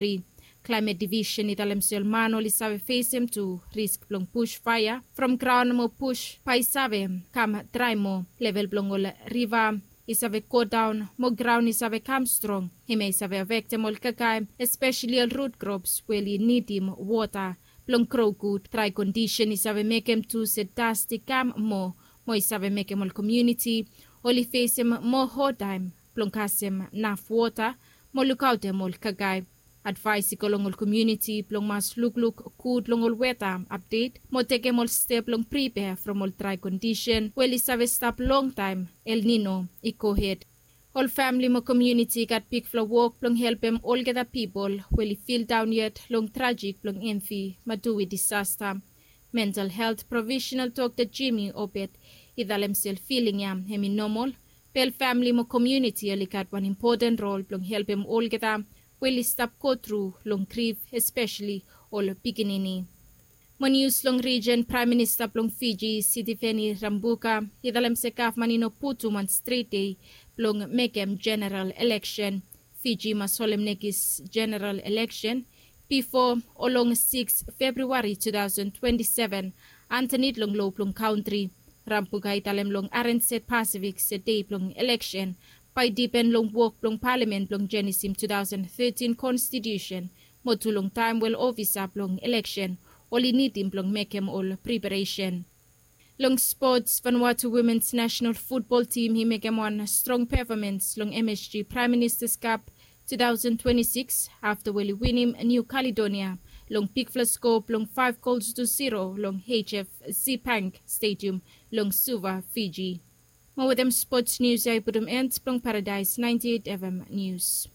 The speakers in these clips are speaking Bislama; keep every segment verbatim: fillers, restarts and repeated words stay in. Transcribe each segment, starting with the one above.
Klaemet Divisen i talem se ol man oli save fesem tu risk blong bus faea from graon mo bus bae i save kam drae moa. Level blong ol riva i save godaon mo graon i save kam strong. Hemia i save afektem ol kakae, espeseli ol rut krops we oli nidim wota blong gro gud. Drae kondisen i save mekem tu se dast i kam moa, mo i save mekem ol komuniti oli fesem moa hadtaem blong kasem naf wota mo lukaotem ol kakae. Advaes i go long ol komuniti blong mas lukluk gud long ol weta apdet mo tekem ol step blong pripea from ol drae kondisen we oli save stap longtaem El Nino i gohed. Ol famle mo komuniti i gat bigfala wok blong helpem olgeta pipol we oli fildaon yet long trajek blong Enfi Matui disasta. Mental helt profesenal Dokta Jimmy Obed i talem se ol filing ya hem i nomol, be ol famle mo komuniti oli gat wan impoten rol blong helpem olgeta we oli stap gotru long grif, espeseli ol pikinini. Mo nius long rijen, Praem Minista blong Fiji, Sitiveni Rabuka, i talem se gavman i no putum wan stret dei blong mekem jeneral eleksen. Fiji i mas holem nekis jeneral eleksen bifo o long sikis Februari tu taosen twenti seven, antanit long loa blong kantri. Rabuka i talem long R N Z Pasifik se dei blong eleksen bae i dipen long wok blong palamen blong jenisim tu taosen tetin konstitiusen, mo tu long taem we ol ofisa blong eleksen oli nidim blong mekem ol preparesen. Long spots, Vanuatu womens nasenal futbol tim i mekem wan strong pefomans long M S G Praem Ministas Kap tu taosen twenti sikis afta we oli winim Niu Kaledonia long bigfala skoa blong faef gols tu ziro long H F C Bank Stadium long Suva, Fiji. Mo wetem spots nius ya i putum en blong Paradaes naenti eit F M nius.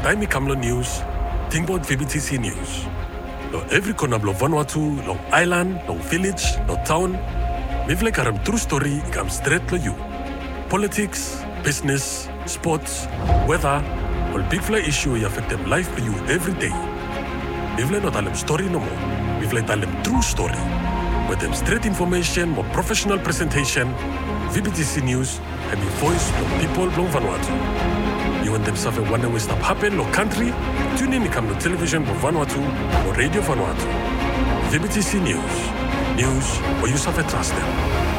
Taem i kam long nius, tingbaot V B T C Nius. Long evri kona blong Vanuatu, long aelan, long vilej, long taon, mifala i karem tru stori i kam stret long yu. Politiks, bisnes, spots, weta, ol bigfala isu i afektem laef blong yu evri dei. Mifala i no talem stori nomo, mifala i talem tru stori. Wetem stret infomesen mo profesenal presentesen, V B T C Nius hem i voes blong pipol blong Vanuatu. Yu wantem save wanem we i stap hapen long kantri? Tunin i kam long televisen blong Vanuatu mo Redio Vanuatu. V B T C Nius, nius we yu save trastem.